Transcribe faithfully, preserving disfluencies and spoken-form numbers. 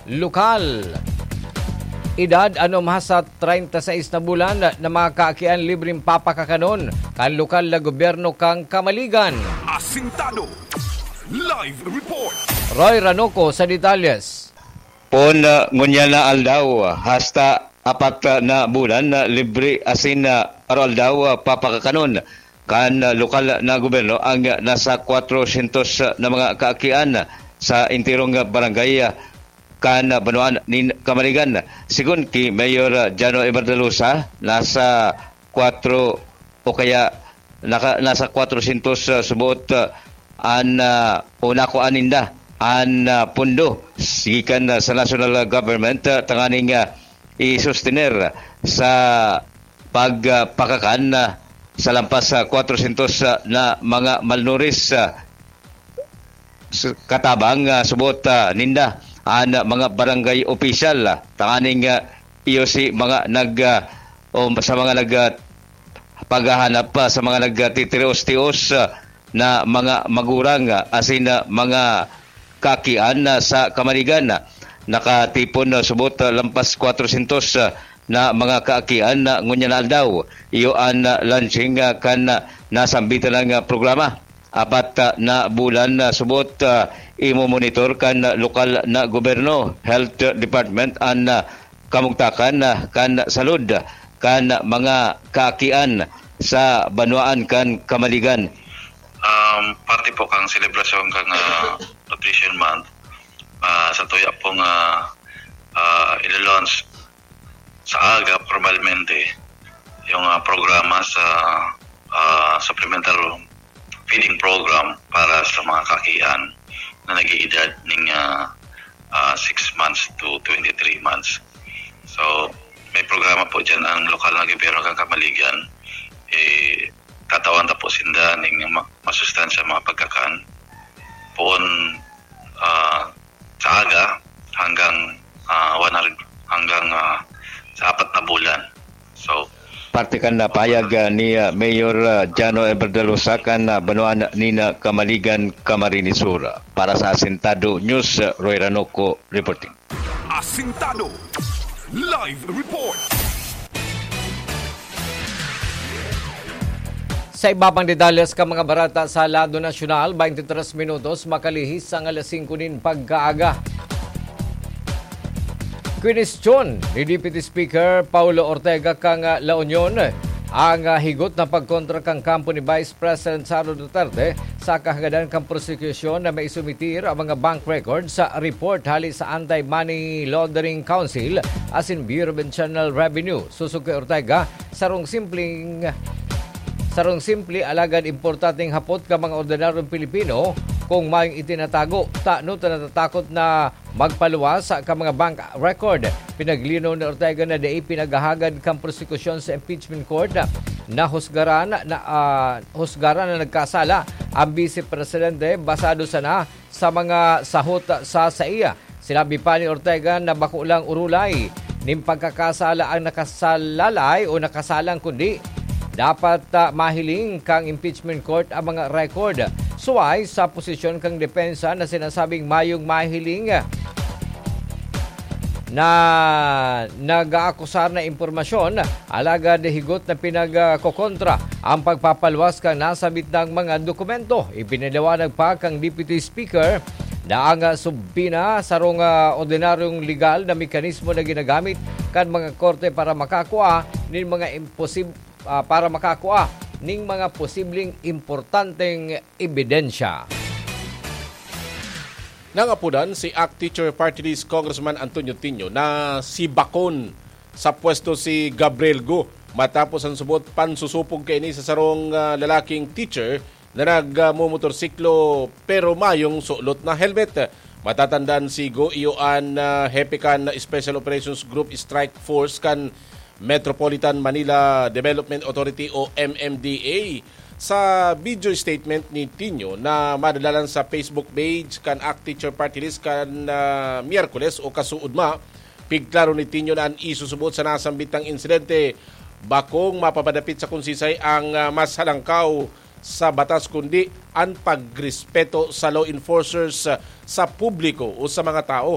Lokal. Edad anom hasta treinta y seis na bulan na mga kaakian libreng papakakanon kan lokal na gobyerno kan Kamaligan. Asintado. Live report. Roy Ranoco sa detalyes. Pon, ah, ngunyan na aldaw, hasta apat, ah, na bulan na libre asin, ah, aroaldaw, ah, papakakanon kan, ah, lokal na gobyerno ang, ah, nasa kwatrosyentos na mga kaakian sa enterong, ah, barangay, ah, kan, ah, banwaan nin Kamaligan. Sigon ki Mayor, ah, Jano Everdalosa, nasa kwatro o kaya naka-, nasa kwatrosyentos, ah, subot, ah, an, ah, o nakuha ninda an, ah, pondo gikan, ah, sa national, ah, government, ah, tanganing, ah, i-sustener sa pag, ah, pakakan, ah, sa lampas sa kwatrosyentos, ah, na mga malnourished, ah, s-, katabang, ah, subot, ah, ninda an, ah, mga barangay opisyal, ah, tanganing, ah, iyo si mga nag, ah, o sa mga nag, ah, paghahanap pa sa mga nagtitios-tios, ah, na mga magurang, ah, asin na mga kaakian, ah, sa Kamaligan. Nakatipon, ah, subot, ah, lampas kwatrosyentos, ah, na mga kaakian na ngunyan na aldaw. Iyo an, ah, launching, ah, kan, ah, nasambitan na, ah, programa. Apat, ah, na bulan na subot, ah, imomonitor kan, ah, lokal na gobyerno, health department, an, ah, kamugtakan, ah, kan salud, kan mga kaakian sa banwaan kan Kamaligan. Um, parte po kang selebrasyon kang, ah, Nutrition Month, ah, sa tuya pong, ah, ah, ilo-launch sa aga, formalmente, yung, ah, programa sa, ah, supplemental feeding program para sa mga kaakian na nag-iidad ning, ah, ah, six months to twenty-three months. So, may programa po dyan ang lokal na gobyerno kan Kamaligan. Eh, tatawan ta po sinda ning ma-, masustansya mga pagkakan. Poon, ah, sa aga hanggang, ah, one hundred, hanggang, ah, sa apat na bulan. So, parte kan napahayag, ah, ni, ah, Mayor, ah, Jano Everdalosa kan, ah, banwaan nin, ah, Kamaligan, Camarines Sur. Para sa Asintado News, ah, Roy Ranoco reporting. Asintado. Live report. Sa iba pang detalles kan mga bareta sa lado nasyonal, twenty-three minutos makalihis ang alas singko nin pagkaaga. Kwinestyon ni Deputy Speaker Paulo Ortega kan, ah, La Union ang, ah, higot na pagkontra kan kampo ni Vice President Sara Duterte sa kahagadan kan prosekusyon na maisumitir ang mga bank records sa report hali sa Anti-Money Laundering Council asin Bureau of Internal Revenue. Sosog ki Ortega, sarong simpleng, sarong simple alagad importanteng hapot kan mga ordinaryong Pilipino, kung mayong itinatago, tano ta natatakot na magpaluwas kan mga bank record. Pinaglinaw ni Ortega na dai pinaghahagad kan prosekusyon sa impeachment court na husgaran na, ah, husgaran na nagkasala ang Vice Presidente basado sana sa mga sahot sa saiya. Sinabi pa ni Ortega na bako lang orolay nin pagkakasala ang nakasalalay o nakasalang, kundi dapat, ah, mahiling kan impeachment court ang mga record. Suway sa posisyon kan depensa na sinasabing mayong mahiling na nag-aakusar na impormasyon, alagad higot na pinagkokontra ang pagpapaluwas kan nasabit na mga dokumento. Ipinaliwanag pa kan Deputy Speaker na ang subpoena sarong, ah, ordinaryong legal na mekanismo na ginagamit kan mga korte para makakua nin mga imposib-, ah, para makakua ning mga posibleng importanteng ebidensya. Nangapodan si ACT Teacher Party List Congressman Antonio Tinio na sibakon sa pwesto si Gabriel Go matapos ang subot pansusupog kaini sa sarong, ah, lalaking teacher na nagmumotorsiklo pero mayong sulot na helmet. Matatandaan si Go iyo an, ah, hepe kan Special Operations Group Strike Force kan Metropolitan Manila Development Authority o M M D A. Sa video statement ni Tinio na madadalan sa Facebook page kan ACT Teacher Party List kan, ah, Miyerkules o kasuodma, pigklaro ni Tinio na an isusubot sa nasambitang insidente bakong mapapadapit sa konsisay ang, ah, mas halangkaw sa batas kundi an pagrespeto sa law enforcers, ah, sa publiko o sa mga tao.